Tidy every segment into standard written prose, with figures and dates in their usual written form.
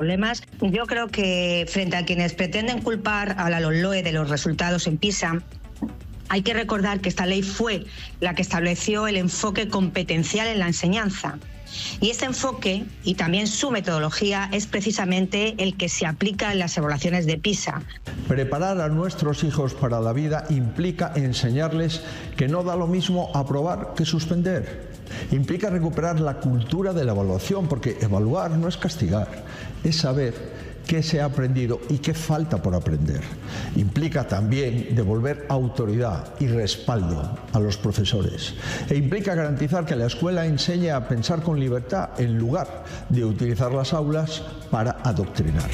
problemas. Yo creo que frente a quienes pretenden culpar a la LOMLOE de los resultados en PISA, hay que recordar que esta ley fue la que estableció el enfoque competencial en la enseñanza. Y este enfoque y también su metodología es precisamente el que se aplica en las evaluaciones de PISA. Preparar a nuestros hijos para la vida implica enseñarles que no da lo mismo aprobar que suspender. Implica recuperar la cultura de la evaluación, porque evaluar no es castigar, es saber qué se ha aprendido y qué falta por aprender. Implica también devolver autoridad y respaldo a los profesores. E implica garantizar que la escuela enseñe a pensar con libertad en lugar de utilizar las aulas para adoctrinar.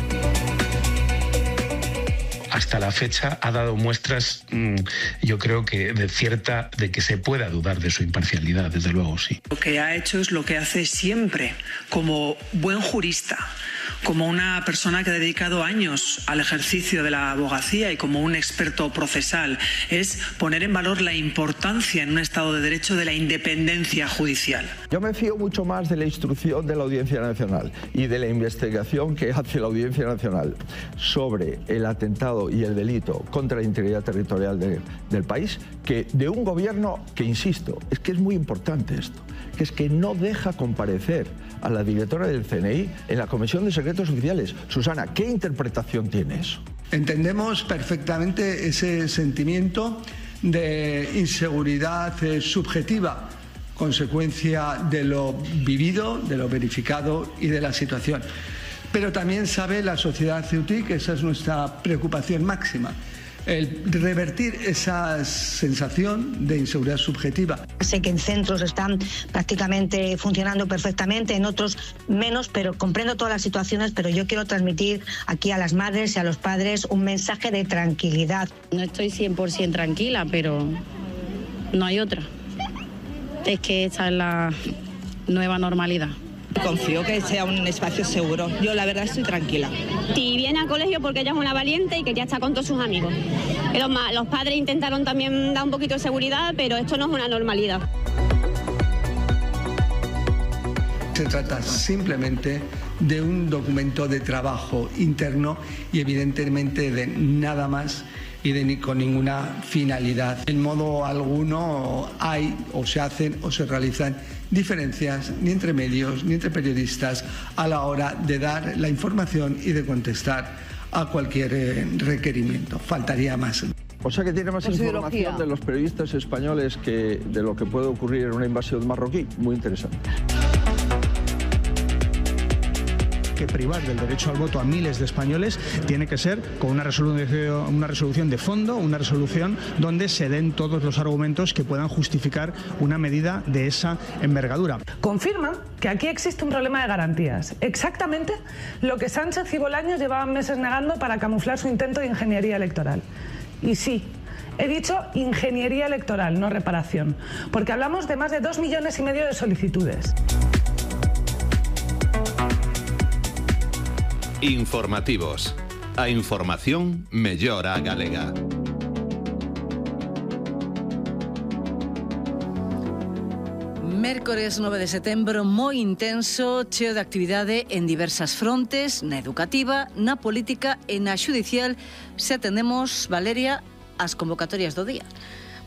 Hasta la fecha ha dado muestras, yo creo que de que se pueda dudar de su imparcialidad, desde luego, sí. Lo que ha hecho es lo que hace siempre, como buen jurista, como una persona que ha dedicado años al ejercicio de la abogacía y como un experto procesal, es poner en valor la importancia en un Estado de Derecho de la independencia judicial. Yo me fío mucho más de la instrucción de la Audiencia Nacional y de la investigación que hace la Audiencia Nacional sobre el atentado y el delito contra la integridad territorial del país que de un gobierno que, insisto, es que es muy importante esto, que es que no deja comparecer a la directora del CNI en la Comisión de Secretos Oficiales. Susana, ¿qué interpretación tiene eso? Entendemos perfectamente ese sentimiento de inseguridad subjetiva, consecuencia de lo vivido, de lo verificado y de la situación. Pero también sabe la sociedad ceutí que esa es nuestra preocupación máxima, el revertir esa sensación de inseguridad subjetiva. Sé que en centros están prácticamente funcionando perfectamente, en otros menos, pero comprendo todas las situaciones, pero yo quiero transmitir aquí a las madres y a los padres un mensaje de tranquilidad. No estoy 100% tranquila, pero no hay otra. Es que esta es la nueva normalidad. Confío que sea un espacio seguro. Yo la verdad estoy tranquila. Y viene al colegio porque ella es una valiente y quería estar con todos sus amigos. Los padres intentaron también dar un poquito de seguridad, pero esto no es una normalidad. Se trata simplemente de un documento de trabajo interno y evidentemente de nada más y ni con ninguna finalidad. En modo alguno hay o se hacen o se realizan diferencias ni entre medios ni entre periodistas a la hora de dar la información y de contestar a cualquier requerimiento. Faltaría más. O sea que tiene más información de los periodistas españoles que de lo que puede ocurrir en una invasión marroquí. Muy interesante. Que privar del derecho al voto a miles de españoles tiene que ser con una resolución de fondo, una resolución donde se den todos los argumentos que puedan justificar una medida de esa envergadura. Confirma que aquí existe un problema de garantías. Exactamente lo que Sánchez y Bolaños llevaban meses negando para camuflar su intento de ingeniería electoral. Y sí, he dicho ingeniería electoral, no reparación, porque hablamos de más de 2,5 millones de solicitudes. Informativos. A información mellor a galega. Mércores 9 de setembro moi intenso, cheo de actividade en diversas frontes, na educativa, na política e na xudicial, se atendemos, Valeria, as convocatorias do día.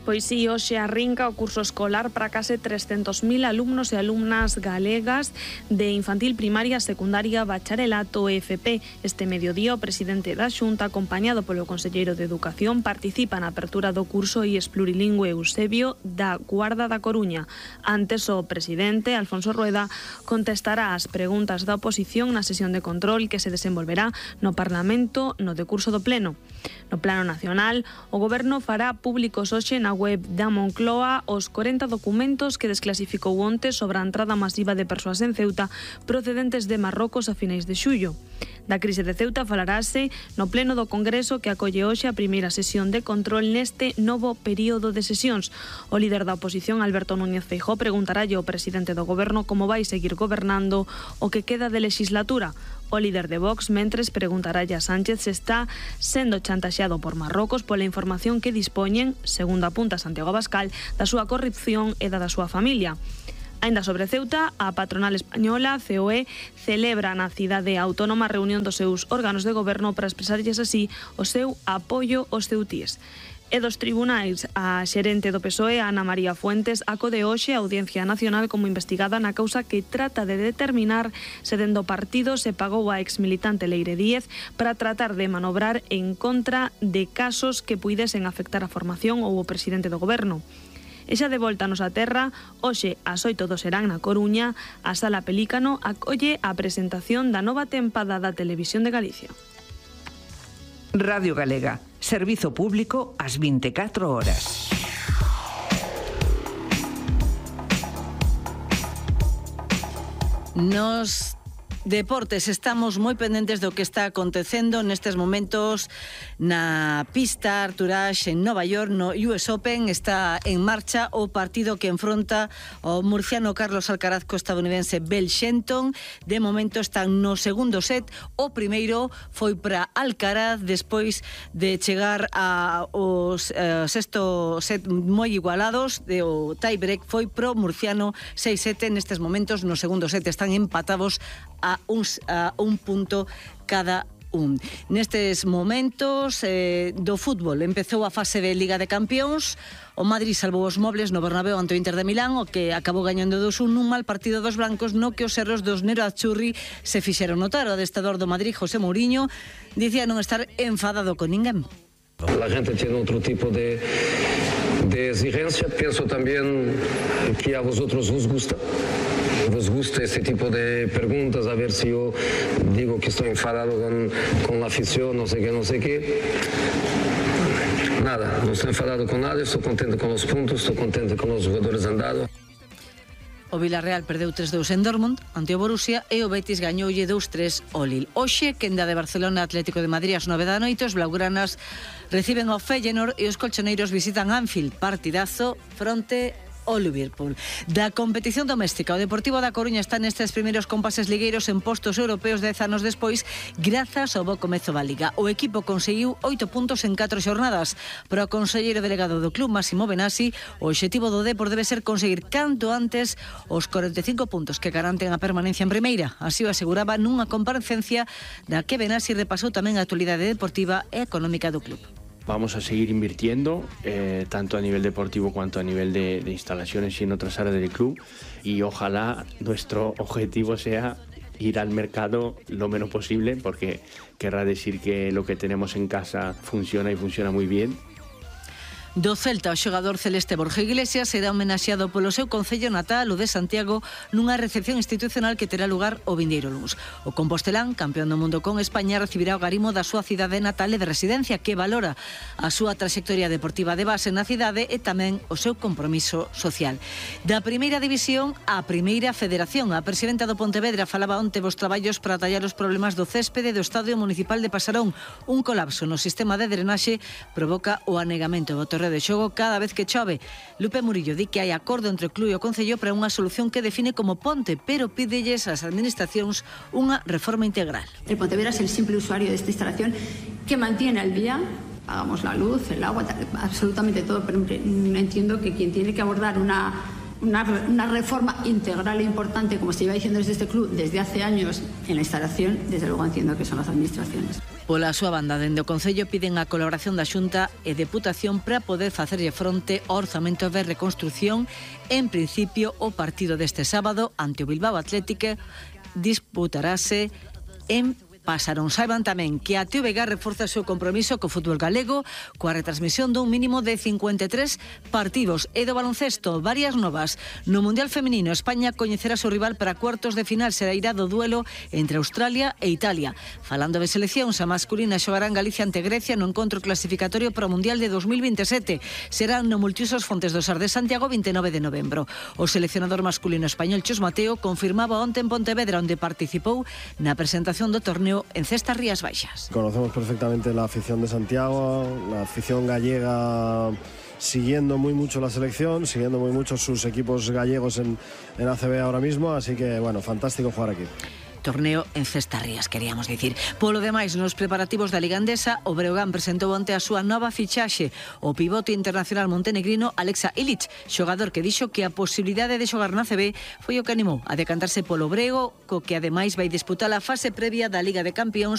Pois si, hoxe arrinca o curso escolar para case 300.000 alumnos e alumnas galegas de infantil, primaria, secundaria, bacharelato e FP. Este mediodía o presidente da Xunta, acompañado polo conselleiro de Educación, participa na apertura do curso IES plurilingüe Eusebio da Guarda da Coruña. Antes, o presidente, Alfonso Rueda, contestará as preguntas da oposición na sesión de control que se desenvolverá no Parlamento no decurso do Pleno. No plano nacional, o Goberno fará públicos hoxe na web da Moncloa os 40 documentos que desclasificou onte sobre a entrada masiva de persoas en Ceuta procedentes de Marrocos a finais de xullo. Da crise de Ceuta falarase no pleno do Congreso que acolle hoxe a primeira sesión de control neste novo período de sesións. O líder da oposición, Alberto Núñez Feijóo, preguntaralle ao presidente do Goberno como vai seguir gobernando o que queda de legislatura. O líder de Vox, mentres, preguntaralle a Sánchez se está sendo chantaxeado por Marrocos pola información que dispoñen, segundo apunta Santiago Abascal, da súa corrupción e da súa familia. Aínda sobre Ceuta, a patronal española, COE, celebra na cidade autónoma a reunión dos seus órganos de goberno para expresarlles así o seu apoio aos ceutíes. E dos tribunais, a xerente do PSOE, Ana María Fuentes, acode hoxe a Audiencia Nacional como investigada na causa que trata de determinar se dende o partido se pagou a exmilitante Leire Díez para tratar de manobrar en contra de casos que puidesen afectar a formación ou o presidente do goberno. E xa de volta a nosa terra, hoxe ás 8 do serán na Coruña, a Sala Pelícano acolle a presentación da nova tempada da Televisión de Galicia. Radio Galega, servizo público ás 24 horas. Nos deportes estamos moi pendentes do que está acontecendo nestes momentos na pista Arthur-Ashe en Nova York, no US Open. Está en marcha o partido que enfronta o murciano Carlos Alcaraz co estadounidense Bell Shelton. De momento están no segundo set. O primeiro foi para Alcaraz despois de chegar ao sexto set moi igualados. O tiebreak foi pro murciano 6-7. Nestes momentos no segundo set están empatados a un punto cada un. Nestes momentos do fútbol empezou a fase de Liga de Campións. O Madrid salvou os mobles no Bernabéu ante o Inter de Milán, o que acabou gañando 2-1 nun mal partido dos blancos no que os erros dos Nero Azzurri se fixeron notar. O adestrador do Madrid, José Mourinho, dicía non estar enfadado con ninguén. La gente tiene otro tipo de exigencia. Pienso también que a vosotros os gusta este tipo de preguntas, a ver si yo digo que estoy enfadado con la afición, no sé qué. Nada, no estoy enfadado con nada, estoy contento con los puntos, estoy contento con los jugadores andados. O Villarreal perdeu 3-2 en Dortmund ante o Borussia e o Betis gañoulle 2-3 ao Lille. Hoxe, quenda de Barcelona, Atlético de Madrid ás 9 da noite, os blaugranas reciben ao Feyenoord e os colchoneiros visitan Anfield, partidazo fronte o Liverpool. Da competición doméstica, o Deportivo da Coruña está nestes primeiros compases ligueiros en postos europeos 10 anos despois, grazas ao bo comezo da Liga. O equipo conseguiu 8 puntos en 4 xornadas. Para o conselleiro delegado do club, Máximo Benassi, o obxectivo do Depor debe ser conseguir canto antes os 45 puntos que garanten a permanencia en primeira. Así o aseguraba nunha comparecencia da que Benassi repasou tamén a actualidade deportiva e económica do club. Vamos a seguir invirtiendo, tanto a nivel deportivo cuanto a nivel de instalaciones y en otras áreas del club, y ojalá nuestro objetivo sea ir al mercado lo menos posible, porque querrá decir que lo que tenemos en casa funciona y funciona muy bien. Do Celta, o xogador celeste Borja Iglesias será homenaxeado polo seu concello natal, o de Santiago, nunha recepción institucional que terá lugar o vindeiro luns. O compostelán, campeón do mundo con España, recibirá o garimo da súa cidade natal e de residencia, que valora a súa traxectoria deportiva de base na cidade e tamén o seu compromiso social. Da primeira división á primeira federación, a presidenta do Pontevedra falaba onte vos traballos para tallar os problemas do céspede do Estadio Municipal de Pasarón. Un colapso no sistema de drenaxe provoca o anegamento do de xogo cada vez que chove. Lupe Murillo di que hai acordo entre o club e o concello para unha solución que define como ponte, pero pídelles ás administracións unha reforma integral. El Pontevedra es el simple usuario de esta instalación que mantiene al día, pagamos la luz, el agua, absolutamente todo, pero entiendo que quien tiene que abordar una reforma integral e importante, como se lleva diciendo desde este club desde hace años en la instalación, desde luego entiendo que son las administraciones. Pola súa banda, dende o Concello piden a colaboración da Xunta e Deputación para poder facerlle fronte ao orzamento de reconstrucción. En principio, o partido deste sábado ante o Bilbao Athletic disputarase en Pasarón. Saiban tamén que a TVG reforza o seu compromiso co fútbol galego coa retransmisión dun mínimo de 53 partidos. E do baloncesto, varias novas. No Mundial Feminino, España coñecerá o seu rival para cuartos de final. Será irá do duelo entre Australia e Italia. Falando de seleccións, a masculina xogará en Galicia ante Grecia no encontro clasificatorio para o Mundial de 2027. Será no Multiusos Fontes do Sar de Santiago 29 de novembro. O seleccionador masculino español Chus Mateo confirmaba onte en Pontevedra, onde participou na presentación do torneo en Cestas Rías Baixas. Conocemos perfectamente la afición de Santiago, la afición gallega siguiendo muy mucho la selección, siguiendo muy mucho sus equipos gallegos en ACB ahora mismo, así que bueno, fantástico jugar aquí. torneo en Cestarrías, queríamos dicir. Polo demais, nos preparativos da Liga Endesa, o Breogán presentou onte a súa nova fichaxe, o pivote internacional montenegrino Alexa Ilic, xogador que dixo que a posibilidade de xogar na CB foi o que animou a decantarse polo Brego, co que ademais vai disputar a fase previa da Liga de Campións